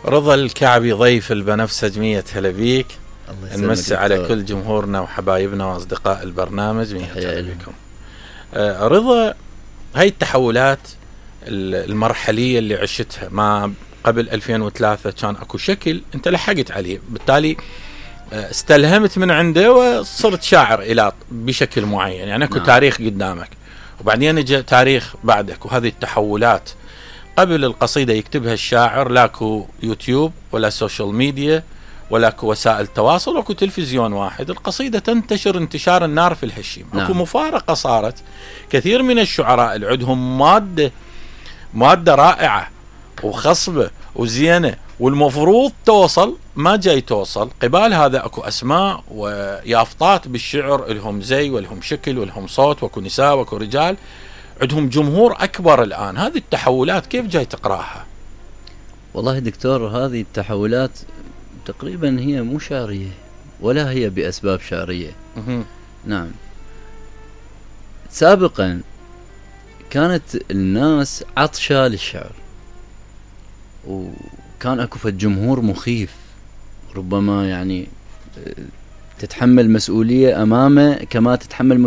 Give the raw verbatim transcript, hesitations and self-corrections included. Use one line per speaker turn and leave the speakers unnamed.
رضا الكعبي ضيف البنفسج مية هلا بيك. نمسي على كل جمهورنا وحبايبنا واصدقاء البرنامج. مية هلا بكم. آه رضا، هاي التحولات المرحلية اللي عشتها ما قبل ألفين وثلاثة كان اكو شكل انت لحقت عليه، بالتالي استلهمت من عنده وصرت شاعر إلى بشكل معين، يعني اكو نعم. تاريخ قدامك وبعدين اجى تاريخ بعدك، وهذه التحولات قبل القصيدة يكتبها الشاعر لاكو يوتيوب ولا سوشيال ميديا ولا اكو وسائل تواصل واكو تلفزيون واحد، القصيدة تنتشر انتشار النار في الهشيم. نعم. اكو مفارقة صارت، كثير من الشعراء اللي عندهم مادة مادة رائعة وخصبة وزينة والمفروض توصل ما جاي توصل، قبال هذا اكو اسماء ويافطات بالشعر لهم زي ولهم شكل ولهم صوت، واكو نساء واكو رجال عندهم جمهور اكبر الان. هذه التحولات كيف جاي تقراها؟
والله دكتور، هذه التحولات تقريبا هي مو شعرية ولا هي بأسباب شعرية. نعم، سابقا كانت الناس عطشة للشعر وكان اكو فد جمهور مخيف، ربما يعني تتحمل مسؤولية امامه كما تتحمل